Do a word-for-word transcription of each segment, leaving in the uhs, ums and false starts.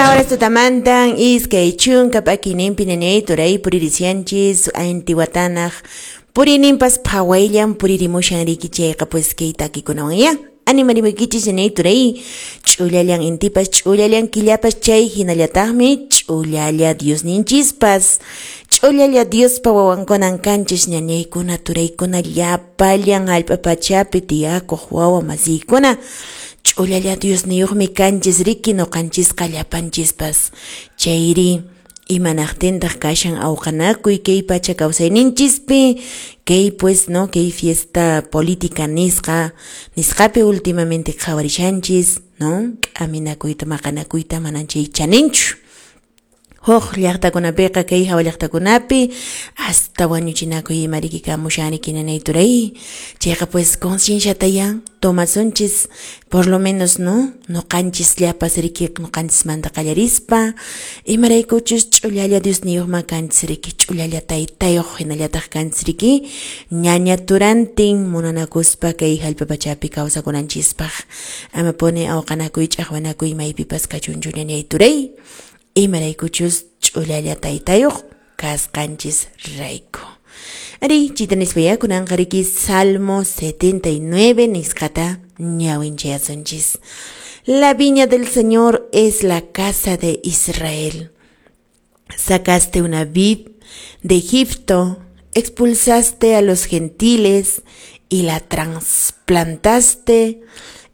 Horas tutamantan iskay chunka p'akiyninpi ñañay turay puririshanchis intiwatanaq puriyninpas phawayllan puririmushan riki chayqa pues kay takikunawan ya animarimuykichis ñañay turay ch'ullallan intipas ch'ullallan killapas chay hinallataqmi ch'ullalla Diosninchispas ch'ullalla Diospa wawankunan kanchis ñañaykuna turaykuna llapallan hallp'a pachapi tiyakuq wawa masiykuna. Ch'ullalla Diosniyuqmi kanchis riki nuqanchisqa llapanchispas chayri imanaqtintaq kashan awqanakuy kay pacha kawsayninchispi kay pues no kay fiesta política nisqa nisqapi últimamente qhawarishanchis no k'aminakuyta maqanakuyta manan chay chaninchu. Huk llaqtakunapiqa kay hawa llaqtakunapi hasta wañuchinakuy ima riki kamushan riki ñañay turay chayqa pues concienciata ya tomasunchis por lo menos no nuqanchis llapas riki nuqanchismanta qallarispa imaraykuchus ch'ullalla Diosniyuqma kanchis riki ch'ullalla taytayuq hinallataq kanchis riki ñaña turantin munanakuspa kay hallp'a pachapi kawsakunanchispaq amapuni awqanakuy ch'aqwanakuy maypipas kachunchu ñañay turay imaraykuchus ch'ullalla taytayuq kasqanchis rayku. Ari, chita nispa kunanqa riki Salmo setenta y nueve nisqata ñawinchayasunchis. La viña del Señor es la casa de Israel. Sacaste una vid de Egipto, expulsaste a los gentiles y la trasplantaste,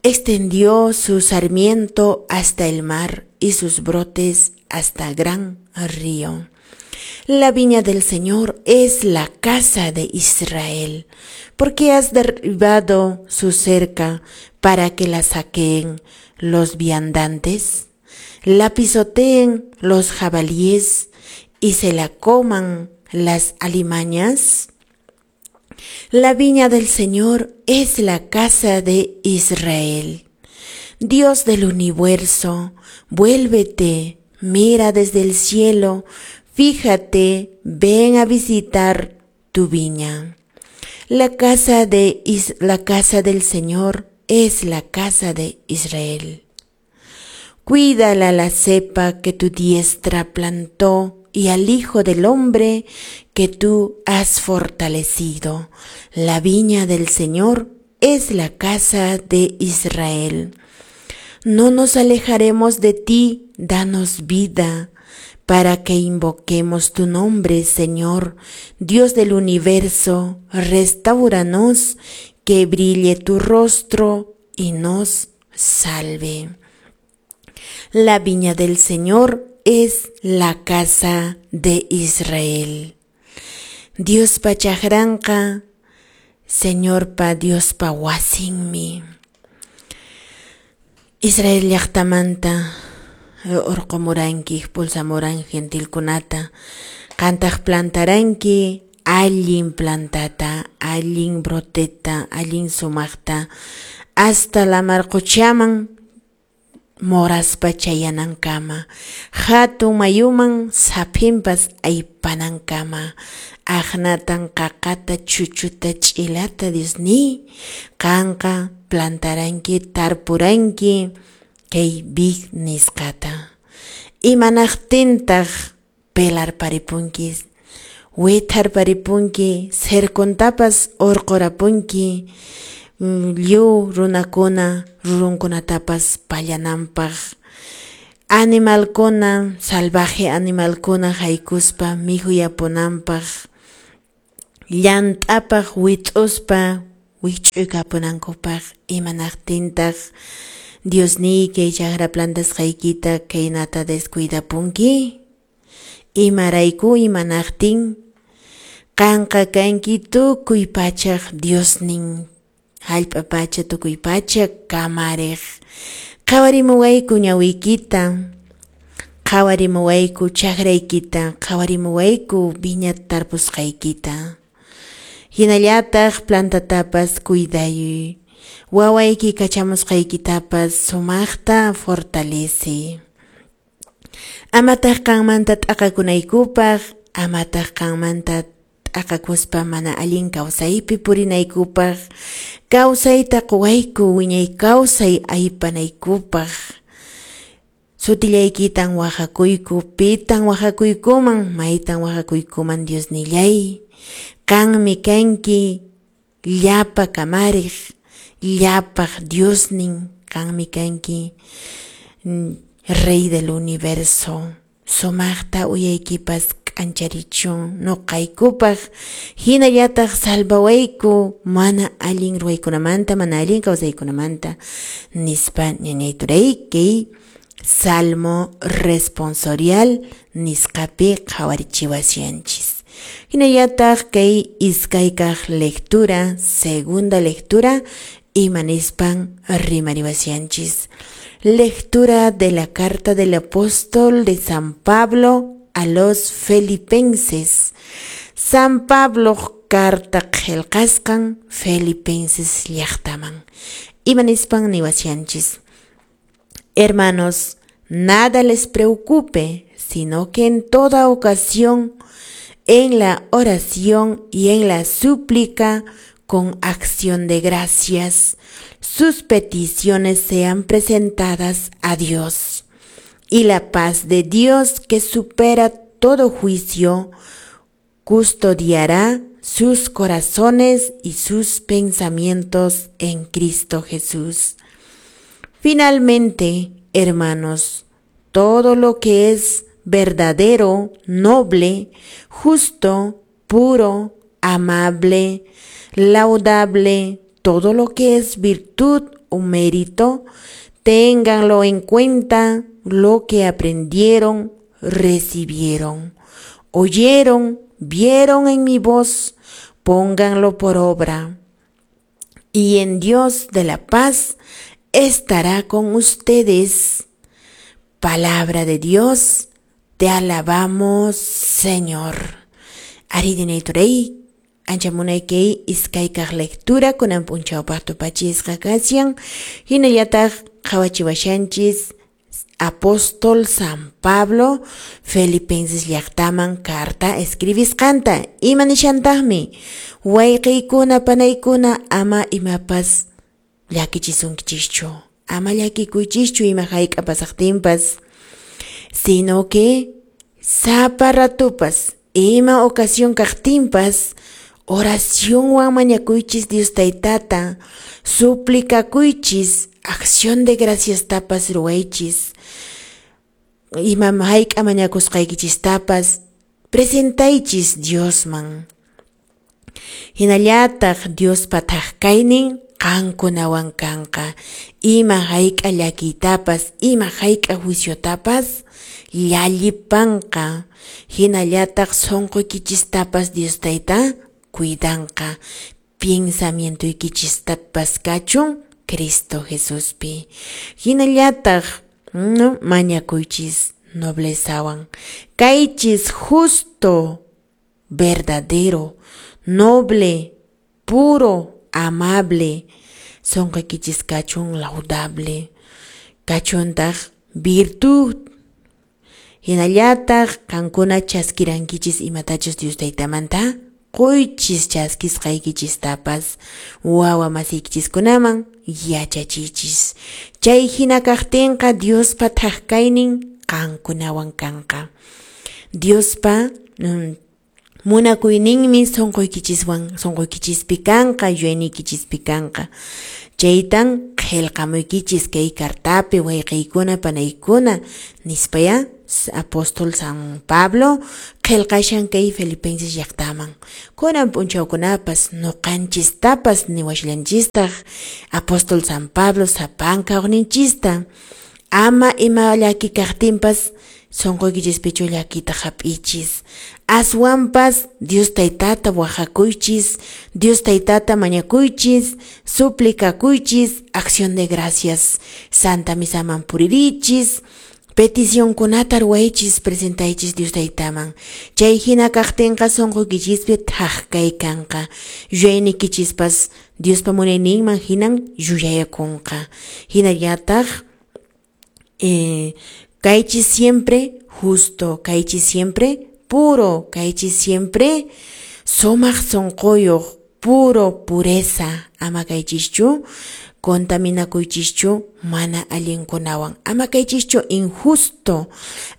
extendió su sarmiento hasta el mar y sus brotes hasta gran río. La viña del Señor es la casa de Israel, porque has derribado su cerca para que la saqueen los viandantes, la pisoteen los jabalíes y se la coman las alimañas. La viña del Señor es la casa de Israel. Dios del universo, vuélvete, mira desde el cielo, fíjate, ven a visitar tu viña. La casa de Is- la casa del Señor es la casa de Israel. Cuídala la cepa que tu diestra plantó y al Hijo del Hombre que tú has fortalecido. La viña del Señor es la casa de Israel. No nos alejaremos de ti, danos vida, para que invoquemos tu nombre, Señor, Dios del universo, restáuranos, que brille tu rostro y nos salve. La viña del Señor es la casa de Israel. Diospa chakranqa, Señorpa Diospa wasinmi. Israel llaqtamanta urqumuranki, expulsamuran gentilkunata, qantaq plantaranki allin plantata, allin broteta, allin sumaqta, hasta lamar quchaman moraspa chayanankama, hatun mayuman saphinpas aypanankama, aqnatan qaqata chuchuta ch'ilata Diosniy, qanqa plantaranki, tarpuranki kay vid nisqata. Imanaqtintaq pelarparipunki, witharparipunki, cercontapas urqurapunki, lliw runakuna rurunkunatapas pallananpaq, animalkuna, salvaje animalkuna haykuspa mikhuyapunanpaq, llant'apaq wit'uspa wikch'uykapunankupaq. Imanaqtintaq Diosniy kay chakra plantasqaykita kaynata descuidapunki? Imarayku imanaqtin? Qanqa kanki tukuy pachaq Diosnin, hallp'a pacha tukuy pacha kamariq. Qhawarimuwayku ñawiykita, qhawarimuwayku chakraykita, qhawarimuwayku viña tarpusqaykita. Hinallataq plantatapas cuidayuy, wawayki kachamusqaykitapas sumaqta fortalece. Amataq qanmanta t'aqakunaykupaq, amataq qanmanta t'aqakuspa mana allin kawsaypi purinaykupaq, kawsayta quwayku wiñay kawsay aypanaykupaq. Sutillaykitan waqakuyku, pitan waqakuykuman, maytan waqakuykuman Diosnillay. Qanmi kanki llapa kamariq, llapaq Diosnin, qanmi kanki Rey del universo. Sumaqta uyaykipas k'ancharichun nuqaykupaq, hinallataq salvawayku mana allin ruwaykunamanta, mana allin kawsaykunamanta, nispa ñañay turay kay Salmo responsorial nisqapi qhawarichiwashanchis. Hinallataq kay iskaykaq lectura, segunda lectura, ima nispan rimariwashanchis. Lectura de la carta del apóstol de San Pablo a los Filipenses. San Pablo carta qillqasqan Filipenses llaqtaman. Ima nispan niwashanchis. Hermanos, nada les preocupe, sino que en toda ocasión, en la oración y en la súplica, con acción de gracias, sus peticiones sean presentadas a Dios. Y la paz de Dios, que supera todo juicio, custodiará sus corazones y sus pensamientos en Cristo Jesús. Finalmente, hermanos, todo lo que es verdadero, noble, justo, puro, amable, laudable, todo lo que es virtud o mérito, ténganlo en cuenta lo que aprendieron, recibieron, oyeron, vieron en mi voz, pónganlo por obra. Y en Dios de la paz estará con ustedes. Palabra de Dios, te alabamos, Señor. Arí ñañay ancha munay kay iskaykaq lectura kunan p'unchawpaq tupachisqa kashan, hinallataq qhawachiwashanchis apóstol San Pablo Filipenses llaqtaman carta escribisqanta. Ima nishantaqmi? Wayqiykuna panaykuna ama imapas llakichisunkichischu, ama llakikuychischu ima hayk'a pasaqtinpas, sino que sapa ratupas ima ocasión kaqtinpas oracionwan mañakuychis Dios taytata, suplicakuychis, acción de gracias tapas ruwaychis, ima hayk'a mañakusqaykichistapas presentaychis Diosman. Hinallataq Diospa thaqkaynin qankunawan kanqa, ima hayk'a llakiytapas, ima hayk'a juiciotapas llallipanqa. Hinallataq sunquykichistapas Dios tayta cuidanqa, pensamientoykichistapas kachun Cristo Jesuspi. Hinallataq no mañakuychis noblezawan, kaychis justo, verdadero, noble, puro, amable, sunquykichis kachun laudable, kachuntaq virtud. Hinallataq qankuna chaskirankichis imatachus Dios taytamanta quychis chaskisqaykichistapas wawa masiykichiskunaman yachachichis. Chay hina kaqtinqa Diospa thaqkaynin qankunawan kanqa. Diospa mm, munakuyninmi sunquykichiswan sunquykichispi kanqa, yuyayniykichispi kanqa. Chaytan qillqamuykichis kay cartapi wayqiykuna panaykuna nispaya apóstol San Pablo qillqashan kay Filipenses llaqtaman. Kunan p'unchawkunapas nuqanchistapas niwashallanchistaq apóstol San Pablo sapanka uqninchista ama ima llaki kaqtinpas sunquykichispichu llakita hap'ichis, aswanpas Dios taytata waqakuychis, Dios taytata mañakuychis, suplicakuychis, acción de gracias, Santa Misaman puririchis, peticionkunata ruwaychis, presentaychis Dios taytaman. Chay hina kaqtinqa sunquykichispi thaqkay kanqa, yuyayniykichispas Diospa munayninman hinan yuyayakunqa. Hinallataq eh, kaychis siempre justo, kaychis siempre puro, kaychis siempre sumaq sunquyuq, puro, pureza, ama kaychischu contaminakuychischu mana allinkunawan, ama kaychischu injusto,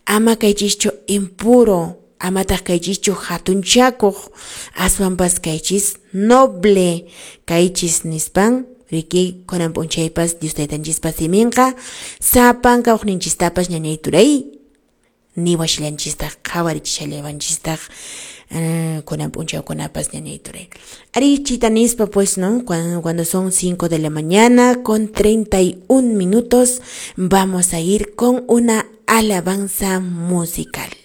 ama kaychischu impuro, amataq kaychischu hatunchakuq, aswanpas kaychis noble kaychis nispan riki kunan p'unchaypas Dios taytanchispa siminqa sapanka uqninchistapas ñañay turay niwashallanchistaq qhawarichishallawanchistaq kunan p'unchawkunapas ñañay turay. Ari chita nispa pues, ¿no? Cuando, cuando son cinco de la mañana con treinta y un minutos vamos a ir con una alabanza musical.